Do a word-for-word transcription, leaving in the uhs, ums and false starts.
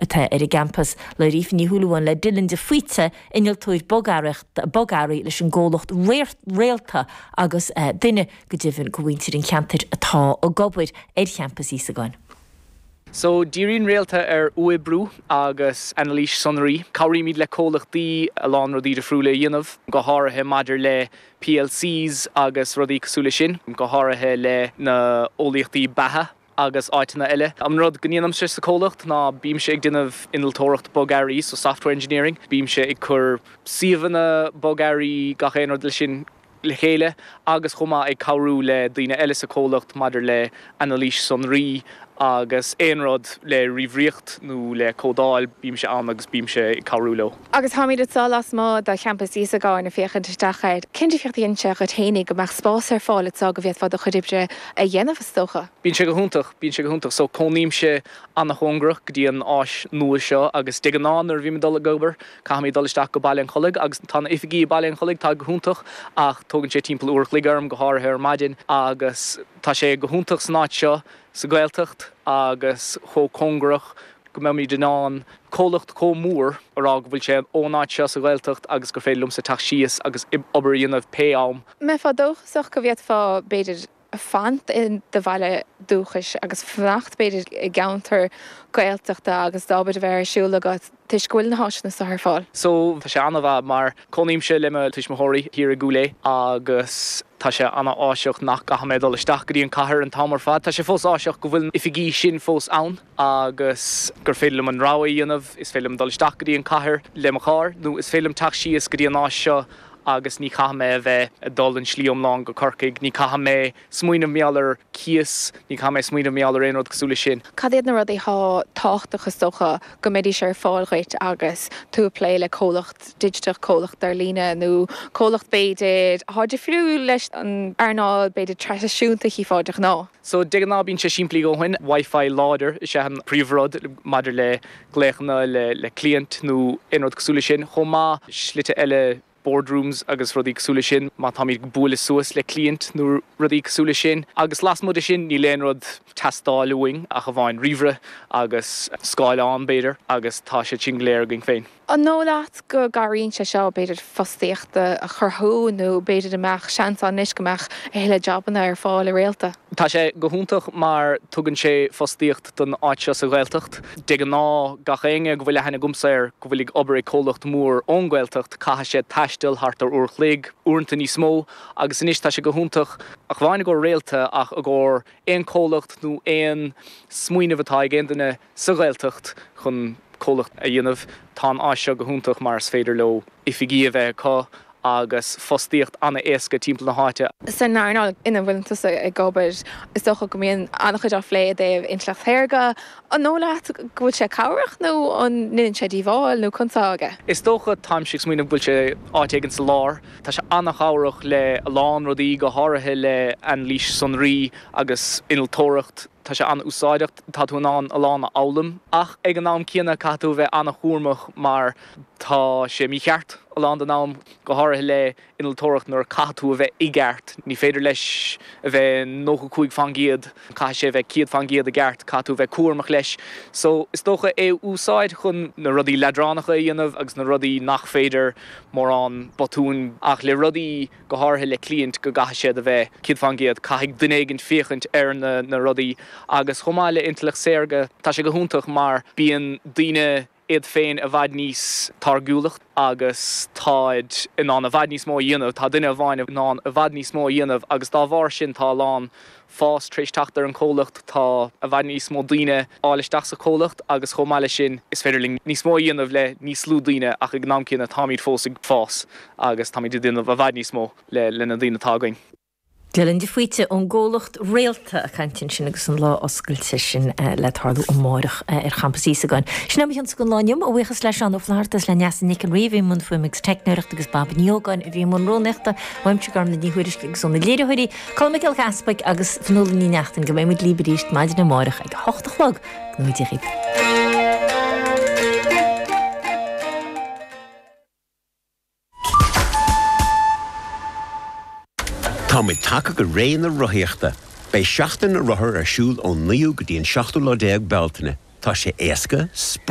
atá ar an gcampas. Labhair Aoife Ní Shúilleabháin le Dylan de Faoite innealtóir bogearraí leis an gcomhlacht Réalta agus eh, duine go deimhin de mhuintir an cheantair atá ag obair ar champas Íosagáin. So díríonn Réalta ar uathoibriú agus anailís sonraí. Cabhraímid le comhlachtaí a lán rudaí difriúla a dhéanamh, go háirithe maidir le PLCs agus rudaí cosúil leis sin, go háirithe le na eolaíochtaí beatha agus áiteanna eile. An rud go ndéanaimse sa comhlacht ná bímse ag déanamh innealtóireacht bogearraí so software engineering, bímse ag cur suíomhanna bogearraí gach aon rud le sin le chéile agus chomh maith ag cabhrú le daoine eile sa comhlacht maidir le anailís sonraí agus aon rud le ríomhaireacht nó le códáil bímse ann agus bímse ag cabhrú leo. Agus táimid anseo lasmuigh de champas Íosagáin ag féachaint isteach air. Cén difríocht a dhéanann sé dhuit féinig go mbeadh spás ar fáil anseo go bhféadfá do chuid oibre a dhéanamh is dócha. Bíonn sé go hiontach, bíonn sé go hiontach, so cónaímse an-chóngarach go dtí an áis nua seo agus de ghnáth nuair a bhím ag dul ag obair, caithfidh mé dul isteach go Baile an Chollaigh agus tá na oifigí i Baile an Chollaigh tá go hiontach ach tógann sé timpeall uair an chloig orm go háirithe ar maidin agus tá sé go hiontach san áit seo sa Ghaeltacht agus chomh cóngarach go mbeimid in ann comhlacht chomh mór a rá go bhfuil sé ón áit seo sa Ghaeltacht agus gur féidir liomsa teacht síos agus obair a dhéanamh pé am. Mbeifeá dóchasach go bhféadfá b'fhéidir fanacht in do bhaile dúchais agus fanacht b'fhéidir i gceantar Gaeltachta agus d'obair a bheith ar siúl agat toisc go bhfuil na háiseanna seo ar fáil. So tá sé an-mhaith mar cónaímse le mo tuismitheoirí thiar i gCúil Aodha agus tá sé an-áiseach nach gcaithfidh mé dul isteach go dtí an cathair an t-am ar fad. Tá sé fós áiseach go bhfuil oifigí sin fós ann agus gur féidir liom an rogha a dhéanamh, is féidir liom dul isteach go dtí an cathair le mo charr nó is féidir liom teacht síos go dtí an áis seo agus ní chaithfidh mé a bheith ag dul an slí iomlán go Corcaigh, ní caithfidh mé smaoineamh mar gheall ar cíos, ní caithfidh mé smaoineamh mar gheall ar aon rud cosúil leis sin. Cad iad na rudaí atá tábhachtach is dócha go mbeidís ar fáil dhuit agus tú ag plé le comhlacht digiteach comhlacht ar líne nó comhlacht b'fhéidir atá difriúil leis an earnáil b'fhéidir traidisiúnta chífeá de ghnáth. So de ghnáth bíonn sé simplí go leor Wi-Fi láidir is é an príomhrud maidir le glaochanna le le client nó aon rud cosúil leis sin chomh maith slite eile boardrooms agus rudaí cosúil leis sin má táimid bualadh suas le client nó rudaí cosúil leis sin agus lasmuigh de sin níl aon rud teastáil uainn ach amháin ríomhaire agus scáileán b'fhéidir agus tá sé sin go léir againn féin. An dóigh leat go gcabhraíonn sé seo b'fhéidir fostaíocht a chruthú nó b'fhéidir a mbeadh seans anois go mbeadh a thuilleadh jabanna ar fáil i Réalta. Tá sé go hiontach mar tugann sé fostaíocht don áit seo sa Ghaeltacht. De ghnáth gach éinne go bhfuil aithne agamsa air go bhfuil ag obair ag comhlacht mór ón Ghaeltacht caithfidh sé taisteal thart ar uair an chloig, uaireanta níos mó, agus anois tá sé go hiontach ach amháin i gcomhair Réalta ach i gcomhair aon comhlacht nó aon smaoineamh atá ag aon duine sa Ghaeltacht chun comhlacht a dhéanamh tá an áis seo go hiontach mar is féidir leo oifigí a bheith acu agus fostaíocht an-éasca timpeall na háite. San earnáil ina bhfuil tusa ag obair is dócha go mbíonn an-chuid á phlé i dtaobh intleacht shaorga, an dóigh leat go bhfuil sé cabhrach nó an ndéanann sé díobháil nó conas atá aige. Is dócha táimse ag smaoineamh go bhfuil sé áit éigin sa lár, Tá sé an-chabhrach le a lán rudaí go háirithe le anailís sonraí agus innealtóireacht tá sé an-úsáideach tá tú in ann a lán a fhoghlaim ach ag an am céanna caithfidh tú a bheith an-chúramach mar tá sé mícheart a lán den am go háirithe le innealtóireacht nuair caithfidh tú a bheith i gceart ní féidir leis a bheith nócha cúig faoin gcéad caithfidh sé a bheith céad faoin gcéad i gceart caithfidh tú a bheith cúramach leis so is dócha é úsáid chun na rudaí leadránacha a dhéanamh agus na rudaí nach féidir mórán botúin ach le rudaí go háirithe le client go gcaithfidh siad a bheith céad faoin gcéad caithfidh duine éigin féachaint ar na na rudaí agus chomh maith le intleacht saorga tá sé go hiontach mar bíonn daoine iad féin i bhfad níos táirgiúla agus táid in ann i bhfad níos mó a dhéanamh tá duine amháin in ann i bhfad níos mó a dhéanamh agus dá bharr sin tá a lán fás tar éis teacht ar an comhlacht tá i bhfad níos mó daoine fáil isteach sa comhlacht agus chomh maith leis sin is féidir linn níos mó a dhéanamh le níos lú daoine ach ag an am céanna táimid fós ag fás agus táimid ag déanamh i bhfad níos mó le le na daoine atá againn. Dylan de Faoite ón gcomhlacht Réalta ag caint ansin agus an lá oscailte sin le tarlú amárach ar champas Íosagáin. Sin é mo chionsa don lá inniu, a bhuíochas le Seán Ó Flatharta is le Neasa Nic an Rí a bhí i mbun fuaime agus teicneoireachta agus Baba Ní Ógáin a bhí i mbun rúnaíochta, uaimse Gormlaith Ní Thuairisg agus óna léiritheoirí, Colm Mac Giolla Easpaig agus Fionnuala Ní Neachtain go mbeidh muid libh arís maidin amárach ag a hocht a chlog. Go ngnóthaí Dia dhaoibh. Táimid tagtha go ré na rothaíochta. Beidh seachtain na rothar ar siúl ón naoú go dtí an seachtú lá déag Bealtaine. Tá sé éasca,